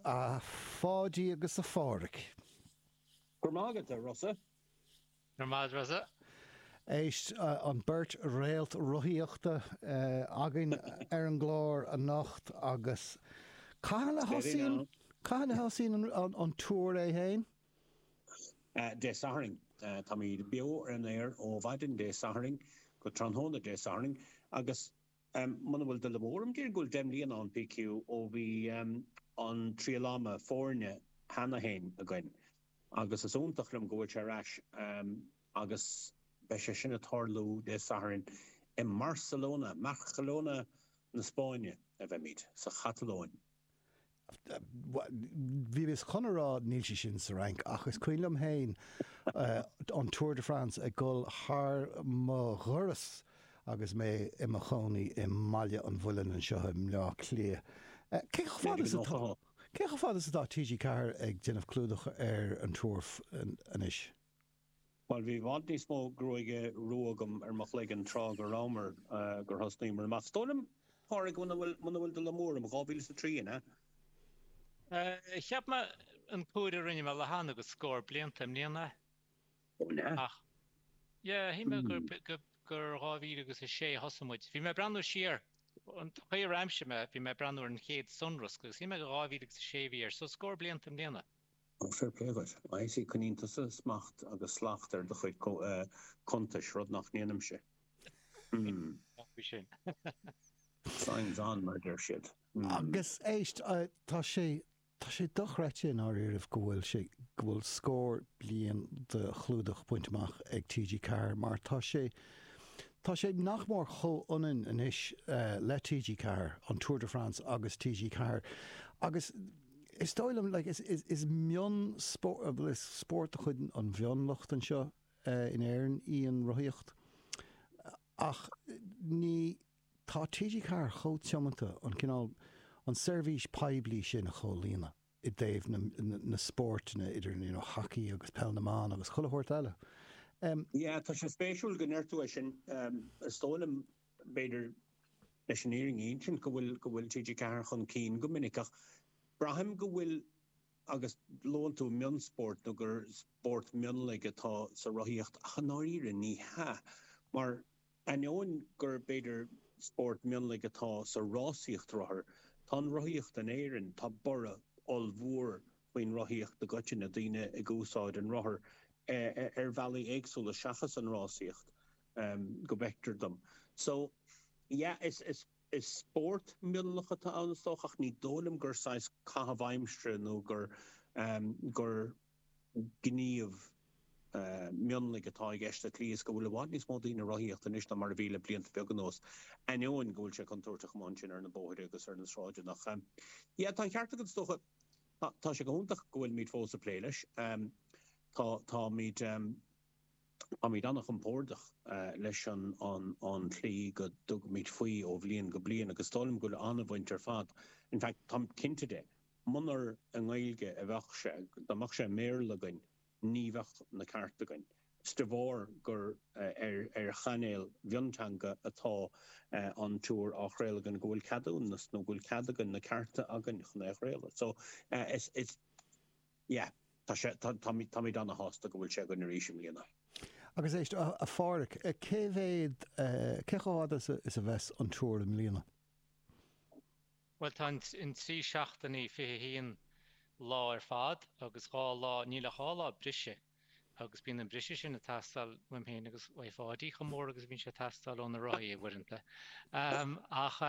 A Pháidí agus a Pháraic. Go raibh maith agat, a Rossa. Go raibh maith agat, Rossa. Éist, an beirt réalt rothaíochta againn ar an gclár anocht agus cathain a thosaíonn, cathain a thosaíonn an Tour é féin? Dé Sathairn. Táimid beo ar an aer ó mhaidin Dé Sathairn go tráthnóna Dé Sathairn agus muna bhfuil dul amú orm, déarfainn go bhfuil 10 mbliana ann, PQ, ó bhí an triail ama foirne cheana féin againn agus is iontach liom go bhfuil sé ar ais agus beidh sé sin ag tarlú Dé Sathairn i mBarcelona, mBarcelona na Spáinne a bheimid, sa Chatalóin. Bhí mé chun a rá níl sé sin sa Fhrainc ach is cuimhin liom féin an Tour de France ag dul thar mo dhoras agus mé i mo chónaí i mBaile an Mhuilinn anseo i mBleá Cliath. Cé chomh fada is atá cé chomh fada is atá TG4 ag déanamh clúdach ar an Tour anois? Bhuel, bhí i bhfad níos mó gruaige rua agam ar mo chloigeann tráth go rabhamar, gur thosnaíomar amach. Is dóigh liom, Pádraig, muna bhfuil, muna bhfuil dul amú orm, 2003, an ea? Cheap mé an comhaireamh a rinne mé le hAnna gur scór blianta i mbliana. Ó, an ea? Ach, yeah, shíl mé gur, gur, gur 2006 a thosaigh muid. Bhí mé ag breathnú siar, an chaoi ar aimsigh mé, bhí mé ag breathnú ar an chéad sonrasc agus shíl mé gur 2006 a bhí air, so scór blianta i mbliana. Ó, fair play dhuit. I see, coinníonn tusa smacht agus slacht ar do chuid cuntais, rud nach ndéanaimse. Hmm. Bhí sin. Signs on, mar a deir siad. Hmm. Agus éist, tá sé, tá sé dochreidte i ndáiríribh go bhfuil sé, go bhfuil scór bliain de chlúdach bainte amach ag TG4 mar tá sé, tá sé nach mór chomh-ionann anois le TG4, an Tour de France agus TG4. Agus Is dóigh liom, like, is, is, is mion-spórt, is spórt de chuid an mhionlucht anseo in Éirinn í an rothaíocht. Ach ní, tá TG4 chomh tiomanta an cineál, an seirbhís poiblí sin a chomhlíonadh i dtaobh na, na, na spóirteanna idir, you know, hacaí agus peil na mban agus chuile shórt eile. Yeah, tá sé spéisiúil go ndeir tú é sin. Is dóigh liom, b'fhéidir, leis an fhírinne a insint, go bhfuil, go bhfuil TG4 chun cinn go minic ach braithim go bhfuil, agus luann tú mionspórt nó gur spórt mionlaigh atá sa rothaíocht ach i ndáiríre ní hea mar ainneoin gur b'fhéidir spórt mionlaigh atá sa rásaíocht rothar, tá an rothaíocht in Éirinn, tá borradh ollmhór faoin rothaíocht i gcoitinne, daoine ag úsáid an rothar ar bhealaí éagsúla seachas an rásaíocht. go bhfeictear dom. So, yeah, is, is, is spórt mionlach atá ann is dócha ach ní dóigh liom gur saghas caitheamh aimsire nó gur, gur gníomh mionlaigh atá i gceist sa tslí is go bhfuil i bhfad níos mó daoine ag rothaíocht anois ná mar a bhí le blianta beaga anuas, ainneoin go bhfuil sé contúirteach amuigh ansin ar na bóithre agus ar na sráideanna. Ach, yeah, tá an ceart agat is dócha. Tá, tá sé go hiontach go bhfuilimid fós ag plé leis. Tá, táimid. Táimid an-chompordach leis an tslí go dtugaimid faoi ó bhliain go bliain agus is dóigh liom go bhfuil an-bhaint ar fad, in fact táim cinnte de, munar i nGaeilge a bheadh sé, dá mbeadh sé i mBéarla againn, ní bheadh na cearta againn. Is de bharr gur ar chainéal mhionteanga atá an Tour á chraoladh againn go bhfuil ceadúnas nó go bhfuil cead againn, na cearta againn chun é a chraoladh. So is. Yeah, tá sé, tá, táimid, táimid ana-shásta go bhfuil sé againn arís i mbliana. Agus éist, a Pháraic, cé mhéad, cé chomh fada is a bheas an Tour i mbliana? Bhuel, tá an 3 seachtainí, 21 lá ar fad agus 2 lá, níl ach 2 lá briseadh agus bíonn an briseadh sin ag teastáil uaim féin agus uaidh Pháidí chomh mór agus a bhíonn sé ag teastáil ó na rothaí uaireanta. Ach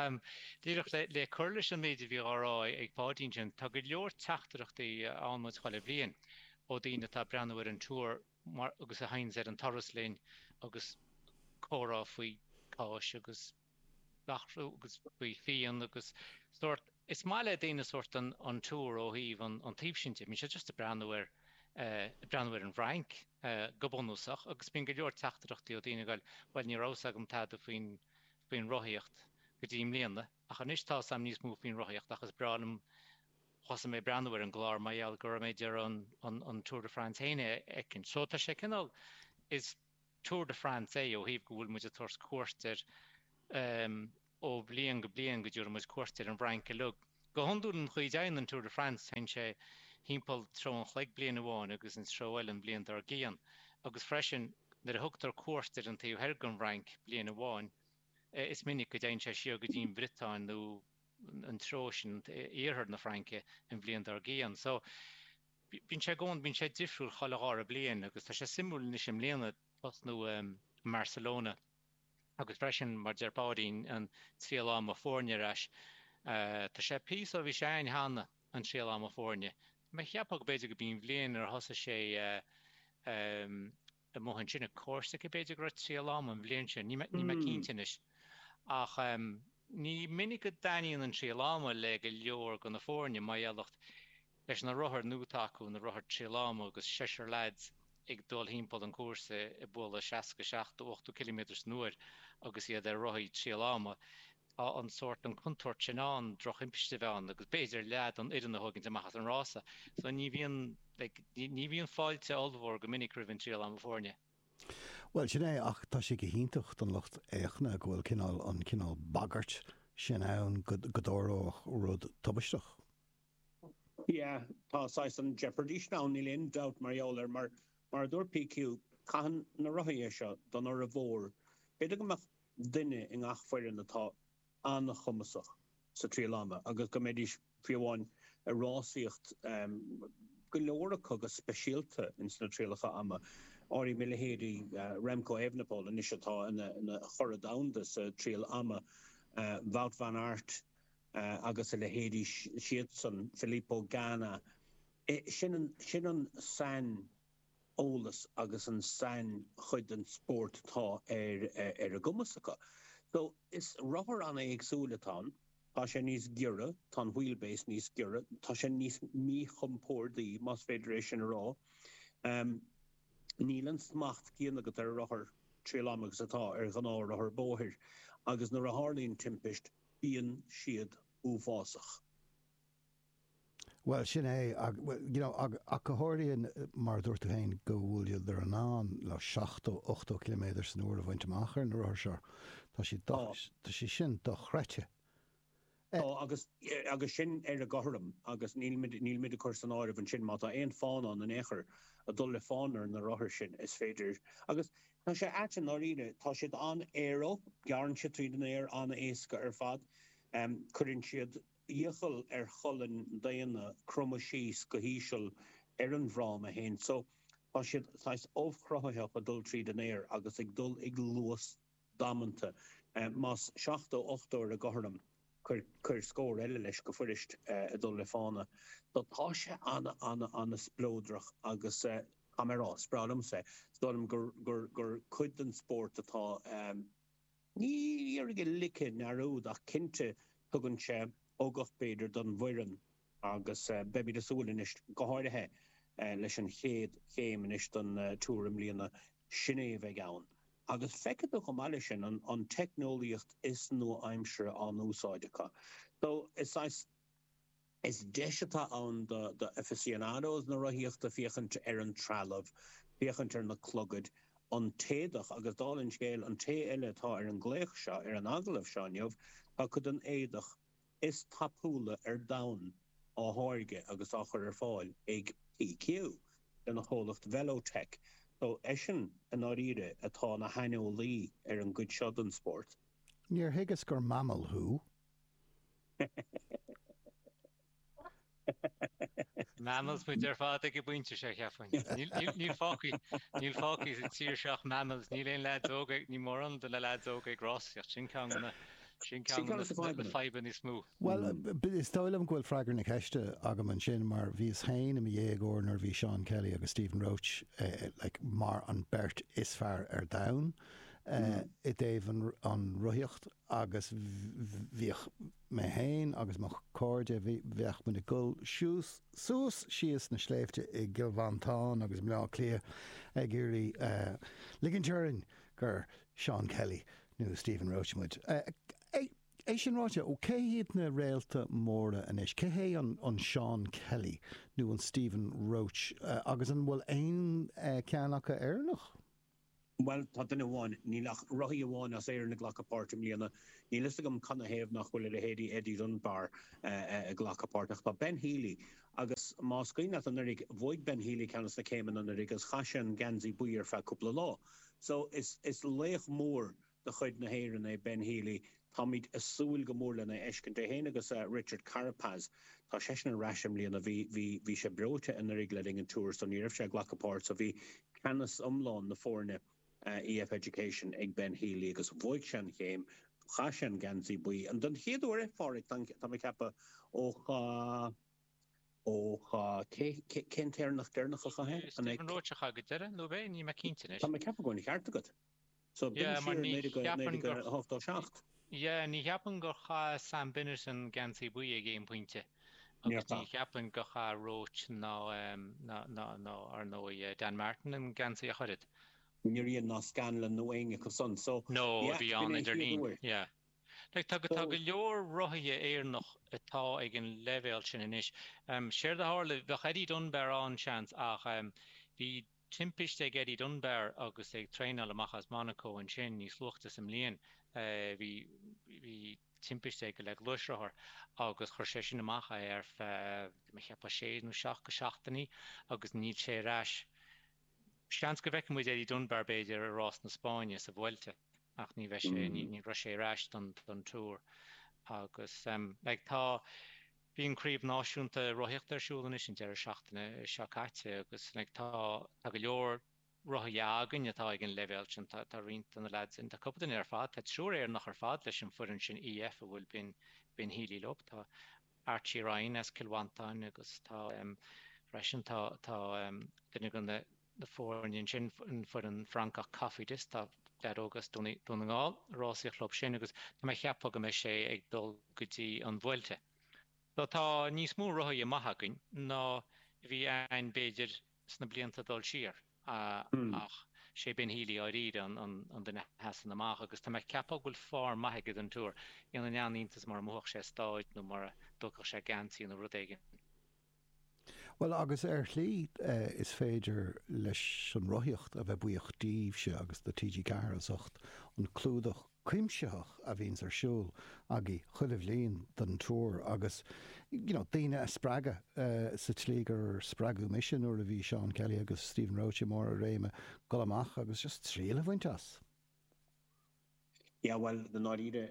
díreach le cur leis an méid a bhí á rá ag Páidí ansin, tá go leor teachtaireachtaí a fhaigheann muid chuile bhliain ó daoine atá ag breathnú ar an Tour mar agus a théanns ar an turas linn agus comhrá faoi cáis agus gach rud agus faoi fíon agus sórt, is maith le daoine sórt an an Tour ó thaobh an an taobh sin de. Bíonn siad just ag breathnú ar ag breathnú ar an bhFrainc go bunúsach agus bíonn go leor teachtaireachtaí ó daoine ag goil bhuel ní raibh 'fhios agam tada faoin faoin rothaíocht go dtí i mbliana ach anois tá 'fhios a'm níos mó faoin rothaíocht ach is breá liom thosaigh mé ag breathnú ar an gclár mar gheall go raibh mé ag iarraidh an an an Tour de France féin a fheicint. So tá sé cineál is Tour de France é ó thaobh go bhfuil muid ag tabhairt cuairt ar ó bhliain go bliain go dtabharfaidh muid cuairt ar an bhFrainc uilig. Go hiondúil an chaoi a dtéann an Tour de France, téann sé thimpeall treo an chloig bliain amháin agus an treo eile an bhliain dár gcionn. Agus freisin, nuair a thugtar cuairt ar an taobh thoir den bhFrainc bliain amháin, is minic go dtéann sé siar go dtí an Bhriotáin nó an treo sin, iarthar na Fraince, an bhliain dár gcionn. So, bíonn sé i gcónaí, bíonn sé difriúil chuile dhara bliain agus tá sé suimiúil anois i mbliana tosnú i mBarcelona agus freisin, mar deir Páidín, an triail ama foirne ar ais. Tá sé píosa ó bhí sé ann cheana, an triail ama foirne. Tá mé ag ceapadh go b'fhéidir go b'í an bhliain ar thosaigh sé amuigh ansin i Corsica b'fhéidir go raibh triail ama an bhliain sin, níl mé cinnte anois. Ach ní minic go dtaitníonn an triail ama le go leor de na foirne mar gheall leis na rothair nua atá acu, na rothair triail ama agus seisear leaids ag dul thimpeall an cúrsa ag bualadh 60, 70, 80 ciliméadar san uair agus iad ar rothaí triail ama. Tá an sórt, an contúirt sin ann, drochthimpiste a bheith ann agus b'fhéidir leath den fhoireann a thógaint amach as an rása. So ní bhíonn, like, ní bhíonn fáilte ollmhór go minic roimh an triail ama foirne. Bhuel, sin é, ach tá sé go hiontach don lucht féachana go bhfuil cineál, an cineál bagairt sin ann go dtarlódh rud tubaisteach. Yeah, tá saghas an jeopardy sin ann, níl aon dabht mar gheall air, mar, mar a dúirt PQ, caitheann na rothaithe seo don fhormhór, b'fhéidir go mbeadh duine i ngach foireann atá an-chumasach sa triail ama agus go mbeidís fiú amháin ag rásaíocht, go leor acu go speisialta ins na trialacha ama. Áirím a leithéidí Remco Evenepoel anois atá ina churadh domhanda sa triail ama, Wout van Aert, agus a leithéidí siadsan, Filippo Ganna, sin an, sin an saineolas agus an sainchuid den spórt atá ar, ar a gcumas acu. So, is rothar an-éagsúil atá ann, tá sé níos giorra, tá an wheelbase níos giorra, tá sé níos míchompórdaí, más féidir é sin a rá. Níl an smacht céanna agat ar rothar triail ama agus atá ar ghnáthrothar bóthair agus nuair a tharlaíonn timpist, bíonn siad uafásach. Bhuel, sin é, you know, ach go háirithe, mar a dúirt tú féin, go bhfuileadar in ann le 70, 80 ciliméadar san uair a bhaint amach ar na rothair seo. Tá sé, tá sé sin dochreidte. Tá, agus, agus sin ar an gcothrom, agus nílimid, nílimid ag cur san áireamh ansin má tá aon fána ann in aon chor, ag dul le fána ar na rothair sin, is féidir, agus Tá sé ait i ndáiríre. Tá siad an-aero, gearrann siad tríd an aer an-éasca ar fad. Cuireann siad iachall ar cholainn daonna cromadh síos go híseal ar an bhfráma féin. So, tá siad saghas ubhchruthaitheach ag dul tríd an aer agus ag dul ag luas damanta. Más 70, 80 ar an gcothrom, cuir scór eile leis go fuirist ag dul le fána. So tá sé ana, ana, ana spleodrach agus tá mé a rá, is breá liomsa é. Is dóigh liom gur, gur, gur cuid den spórt atá, ní déarfainn a ligfidh i ndearúd ach cinnte tugann sé ugach b'fhéidir don bhfoireann agus beimid ag súil anois, go háirithe leis an chéad chéim anois den Tour i mbliana, sin é a bheidh ann. Agus feicfidh tú chomh maith leis sin an teicneolaíocht is nua-aimseartha á n-úsáid acu. So, is saghas, is deis atá ann do do aficionados na rothaíochta féachaint ar an trealamh, féachaint ar na clogaid, an t-éadach agus dála an scéil, an té eile atá ar an nglaoch seo, ar an agallamh seo inniu, tá cuid den éadach is tapúla ar domhan á tháirgeadh agus á chur ar fáil ag PQ lena chomhlacht Velotech. So, eisean, i ndáiríre, atá ina shaineolaí ar an gcuid seo den spórt. Níor thuigeas gur mammal thú. Mammals muid ar fad ag an bpointe seo, cheapfainn. Níl fágtha, níl fágtha sa tír seo ach mammals, níl aon leaids óga, níl mórán de na leaids óga ag rásaíocht, sin ceann de na, sin ceann de na fadhbanna níos mó. Bhuel, is dóigh liom go bhfuil freagra na ceiste agam ansin mar bhíos féin i mo dhéagóir nuair a bhí Seán Kelly agus Stephen Roche like, mar an beirt is fearr ar domhan i dtaobh an rothaíocht agus bhíodh mé féin agus mo chairde, bheadh muid ag dul suas, suas síos na sléibhte i gCill Mhantáin agus i mBleá Cliath ag iarraidh ligint orainn gur Seán Kelly nó Stephen Roche muid. É sin ráite, cé hiad na réalta móra anois? Cé hé an Seán Kelly nó an Stephen Roche agus an bhfuil aon cheann acu Éireannach? Bhuel, tá duine amháin, níl ach rothaí amháin as Éirinn ag glacadh páirt i mbliana. Níl fhios agam canathaobh nach bhfuil a leithéidí Eddie Dunbar ag glacadh páirt, ach tá Ben Healy. Agus más cuimhin leat anuraidh, bhuaigh Ben Healy ceann des na céimeanna anuraidh agus chaith sé an geansaí buí ar feadh cúpla lá. So, is is laoch mór de chuid na hÉireann é Ben Healy. Táimid ag súil go mór lena fheiscint. É féin agus Richard Carapaz. Tá seisean ar ais i mbliana. Bhí, bhí, bhí sé breoite anuraidh le linn an Tour so ní raibh sé ag glacadh páirt so bhí ceannas iomlán na foirne EF Education ag Ben Healy agus bhuaigh sé an chéim, chaith sé an geansaí buí. An don chéad uair é, a Phádraig, tá, tá mé ag ceapadh, ó chaith, ó chaith, cé, cé, cén t-Éireannach deireanach a chaith é? An é, Stephen Roche a chaith go deireadh, nó ab é? Níl mé cinnte anois. Tá mé ag ceapadh go bhfuil an ceart agat. So b'in Yeah, mar siar ní cheapaim gur 1987. Yeah, ní cheapaim gur chaith Sam Bennett an geansaí buí ag aon pointe Níor agus ní chaith. cheapaim gur chaith Roche ná ná ná ná ar ndóigh Dan Martin an geansaí ach oiread. Níor dhein ná Scanlon nó éinne acu san. So, No, a yeah, bhí b'in ann é an idir chéad linn. uair. Yeah. Like, tá tá So, go leor rothaithe Éireannach atá ag an leibhéal sin anois. Séard a tharla, bheadh Eddie Dunbar ann seans ach bhí timpiste ag Eddie Dunbar agus é ag traenáil amach as Monaco ansin níos luaite sa mbliain. Bhí bhí timpiste aige le gluaisrothar agus chuir sé sin amach é ar feadh, mé ag ceapadh, sé nó seacht go seachtainí agus níl sé ar ais. Seans go bhfeicfidh muid Eddie Dunbar b'fhéidir i rás na Spáinne sa Vuelta ach ní bheidh sé, ní raibh sé ar ais don don Tour agus like tá Bhí an Craobh Náisiúnta Rothaíochta ar siúl anois an deireadh seachtaine seo caite agus like tá tá go leor rothaithe againn atá ag an leibhéal sin. Tá tá roinnt de na leaids sin, tá cúpla duine ar fad, tá triúr Éireannach ar fad leis an foireann sin EF a bhfuil Ben Ben Healy leo. Tá Archie Ryan as Cill Mhantáin agus tá freisin tá tá duine de na na foirne ansin, an foireann Francach Cofidis, tá leaid óg as Dún na nGall ag rásaíocht leo sin agus tá mé ag ceapadh go mbeidh sé ag dul go dtí an Vuelta. So tá níos mó rothaithe maith againn ná a bhí ann b'fhéidir sna blianta dul siar ach sé Ben Healy dháiríre an duine a sheasann amach agus tá mé ag ceapadh go bhfuil form maith aige don Tour. Dhéanfainn an-iontas mura mbuafadh sé stáid nó mura dtógfadh sé geansaí nó rud éigin. Bhuel, agus ar shlí is féidir leis an rothaíocht a bheith buíoch díbhse agus do TG4 as ucht an clúdach cuimsitheach a bhíonns ar siúl agaibh chuile bhliain don Tour agus you know daoine a spreagadh sa tslí gur spreagadh mise nuair a bhí Seán Kelly agus Stephen Roche i mbarr a réime dul amach agus just triail a bhaint as. Yeah, bhuel, i ndáiríre,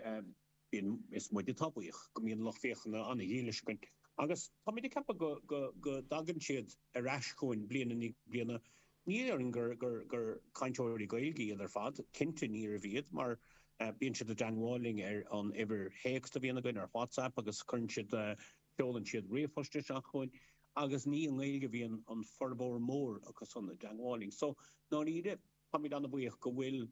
bíonn, is muid atá buíoch go mbíonn lucht féachana an-dhílis againn agus táimid ag ceapadh go, go, go dtagann siad ar ais chugainn bliain i ndiaidh bliana. Ní déarfainn gur, gur, gur cainteoirí Gaeilge iad ar fad, cinnte níorbh iad mar bíonn siad i dteangmháil linn ar an uimhir théacs a bhíonn againn ar WhatsApp agus cuireann siad, seolann siad ríomhphost isteach chugainn agus ní i nGaeilge a bhíonn an formhór mór acu san i dteangmháil linn. So, ndáiríre. Táimid an-bhuíoch go bhfuil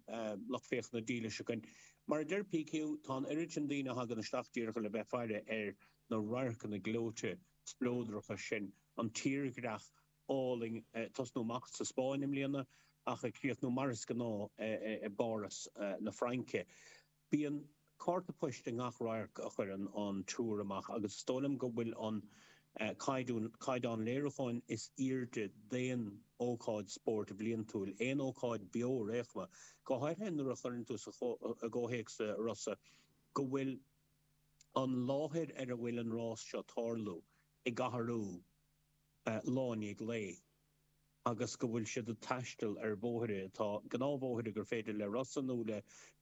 lucht féachana dílis againn. Mar a deir PQ, tá an oiread sin daoine a thagann isteach díreach le bheith ag faire ar na radharcanna gleoite spleodracha sin, an tírdhreach álainn ag tosnú amach sa Spáinn i mbliana ach ag críochnú mar is gnáth i bPáras na Fraince. Bíonn cárta poist i ngach radharc a chuireann an Tour amach agus is dóigh liom go bhfuil an caighdeán léiriúcháin is airde d'aon ócáid spóirt bhliantúil, aon ócáid beo ar aon chuma, go háirithe nuair a chuireann tú i gcomhthéacs a Rossa, go bhfuil an láthair ar a bhfuil an rás seo tarlú ag athrú lá i ndiaidh lae. agus go bhfuil siad ag taisteal ar bhóithre atá, gnáthbhóithre gur féidir le Rossa nó le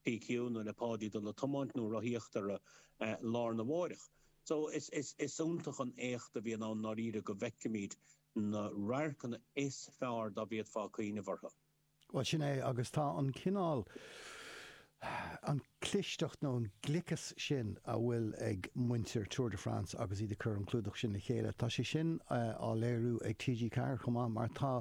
PQ nó le Páidí dul ag tiomáint nó rothaíocht orthu lá arna mháireach. So is, is, is iontach an éacht a bhíonn ann i ndáiríre go bhfeicimid na radharcanna is fearr dá bhféadfá cuimhneamh orthu. Bhuel, sin é, agus tá an cineál, an clisteacht nó an gliceas sin a bhfuil ag muintir Tour de France agus iad ag cur an clúdach sin le chéile, tá sé sin á léiriú ag TG4 chomh maith mar tá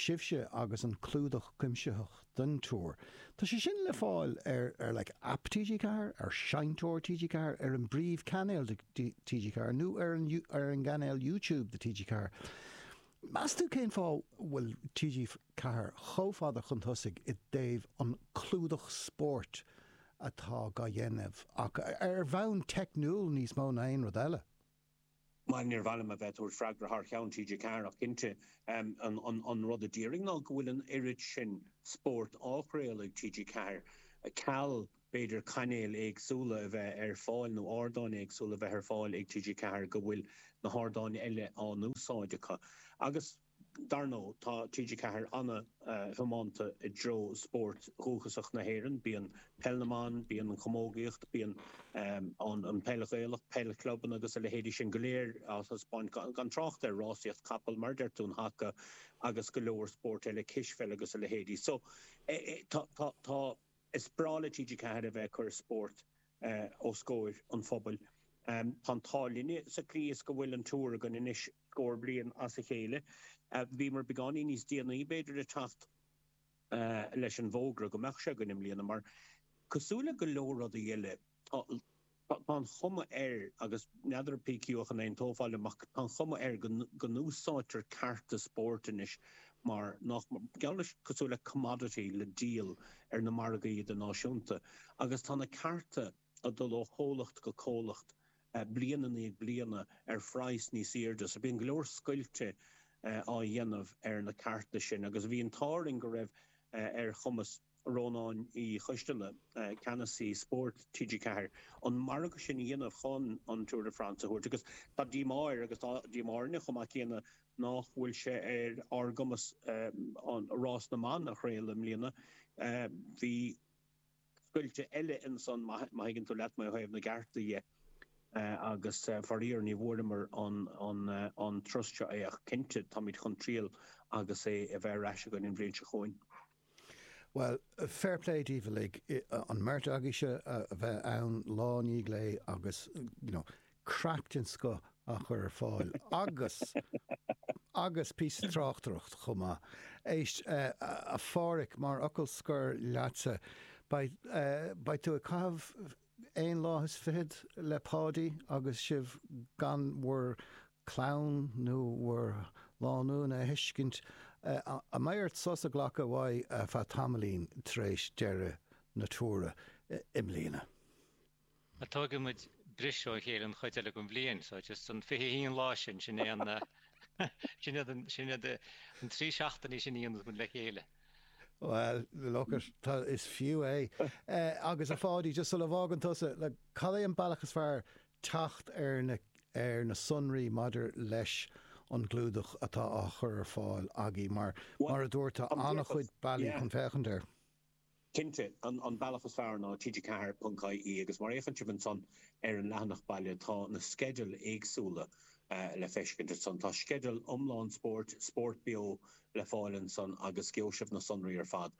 sibhse agus an clúdach cuimsitheach don Tour, tá sé sin le fáil ar, ar like app TG4, ar seinnteoir TG4, ar an bpríomhchainéal de TG4 nó ar an, ar an gcainéal YouTube de TG4. Meas tú cén fáth a bhfuil TG4 chomh fada chun tosaigh i dtaobh an clúdach spóirt atá dhá dhéanamh acu, ar bhonn teicniúil níos mó ná aon rud eile? Bhuel, níor mhaith liom a bheith ag tabhairt freagra thar cheann TG4 ach cinnte an rud a déarfainn ná go bhfuil an oiread sin spóirt á chraoladh ag TG4, ceal b'fhéidir cainéil éagsúla a bheith ar fáil nó ardáin éagsúla a bheith ar fáil ag TG4 go bhfuil na hardáin eile á n-úsáid acu. Agus. Dar ndóigh, tá TG4 ana-thiomanta i dtreo spóirt dhúchasach na hÉireann. Bíonn Peil na mBan, bíonn an chamógaíocht, bíonn an peil Ghaelach, peil chlubanna agus a leithéidí sin go léir á thaispeáint, gan trácht ar rásaíocht capall, mar a deir tú, an haca agus go leor spóirt eile, cispheil agus a leithéidí. So, tá, tá, tá, is breá le TG4 a bheith ag cur spóirt os comhair an phobail. Tá an t-ádh linne sa tslí is go bhfuil an Tour againn anois scór bliain as a chéile. Bhíomar beagáinín níos déanaí b'fhéidir ag teacht leis an bhfógra go mbeadh sé againn i mbliana mar cosúil le go leor rudaí eile tá an chuma air, agus n'fheadar PQ ach an aontófá liom, ach tá an chuma air go n-úsáidtear cearta spóirt anois mar nach, geall leis, cosúil le commodity le díol ar na margaí idirnáisiúnta agus tá na cearta ag dul ó chomhlacht go comhlacht bliain i ndiaidh bliana ar phraghas níos airde. So bíonn go leor scoilte á dhéanamh ar na cearta sin agus bhí an t-ádh orainn go raibh ar chumas Rónáin Uí Choisteala, ceannasaí spóirt TG4, an margadh sin a dhéanamh chun an Tour de France a thabhairt agus tá díomá air agus tá díomá orainne chomh maith céanna nach bhfuil sé ar ár gcumas an rás na mban a chraoladh i mbliana. Bhí scoilte eile ansan má thuigeann tú leat mé ó thaobh na gcearta dhe agus faraor ní bhfuaireamar an turas seo é ach cinnte táimid chun triail agus é a bheith ar ais againn an bhliain seo chugainn. Bhuel, fair play daoibh uilig, an mbeirt agaibhse a bheith ann lá i ndiaidh lae agus you know craic den scoth á chur ar fáil agus agus píosa tráchtaireacht chomh maith. Éist, a Pháraic, mar fhocal scoir leatsa, beidh, beidh tú ag caitheamh aon lá is fichead le Páidí agus sibh gan bhur gclann nó bhur lánúin a fheiscint. An mbeidh ort sos a ghlacadh uaidh feadh tamaillín tar éis deireadh na Tour i mbliana? Bhuel, tógfaidh muid briseadh ó chéile an chuid eile den bhliain, so just an 21 lá sin, sin é an, sin iad an, sin iad an 3 seachtainí sin a dhéanann muid le chéile. Bhuel, look it, tá, is fiú é. Agus a Pháidí, just sula bhfágann tusa, like, cad é an bealach is fearr teacht ar na, ar na sonraí maidir leis an gclúdach atá á chur ar fáil agaibh, mar, mar a dúirt, tá an-chuid bealaí chun féachaint air. Cinnte, an bealach is fearr ná tg4.ie agus má fhéachann sibh ansan ar an leathanach baile tá na sceidil éagsúla le feiscint ansan. Tá sceideal iomlán spóirt, Spórt Beo le fáil ansan agus gheobhaidh sibh na sonraí ar fad.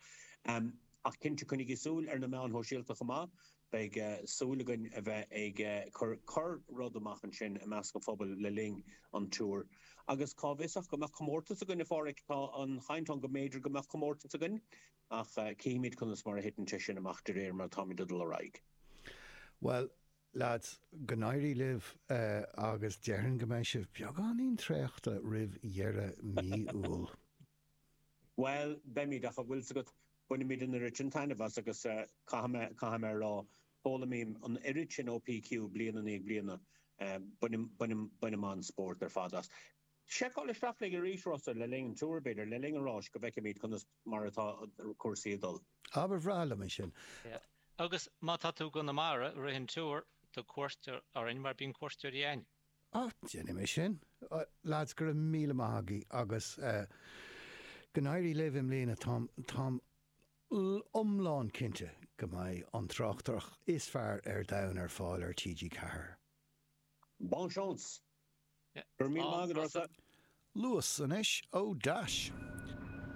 Ach cinnte, coinnigí súil ar na meáin shóisialta chomh maith. Beidh súil againn a bheith ag cur corr rud amach ansin i measc an phobail le linn an Tour. Agus cá bhfios ach go mbeadh comórtas againn, a Pháraic? Tá an chaint ann go mb'fhéidir go mbeadh comórtas againn, ach cífimid conas mar a thiteann sé sin amach de réir mar atáimid ag dul ar aghaidh. Bhuel, leaids, go n-éirí libh agus déarfainn go mbeidh sibh beagáinín traochta roimh dheireadh mí Iúil. Bhuel, beimid, ach an bhfuil 's agat, bainimid an oiread sin taitneamh as agus caithfidh mé, caithfidh mé a rá, foghlaimím an oiread sin ó PQ bliain i ndiaidh bliana, bainim, bainim, bainim an-spórt ar fad as. Seiceáil isteach linn arís, Rossa, le linn an Tour, b'fhéidir, le linn an ráis, go bhfeicfimid conas mar atá cúrsaí ag dul. Á, ba bhreá liom é sin. Yeah. Agus má tá tú i gConamara i rith an Tour, tabhair cuairt orainn mar bíonn cuairteoirí a'inn. Á, déanfaidh mé sin. Lads, go raibh míle maith agaibh agus go n-éirí libh i mbliana. Táim, táim iomlán cinnte go mbeidh an tráchtaireacht is fearr ar domhan ar fáil ar TG4. Bonne chance! Go raibh míle maith agat, Rossa. Luas anois ó Dash.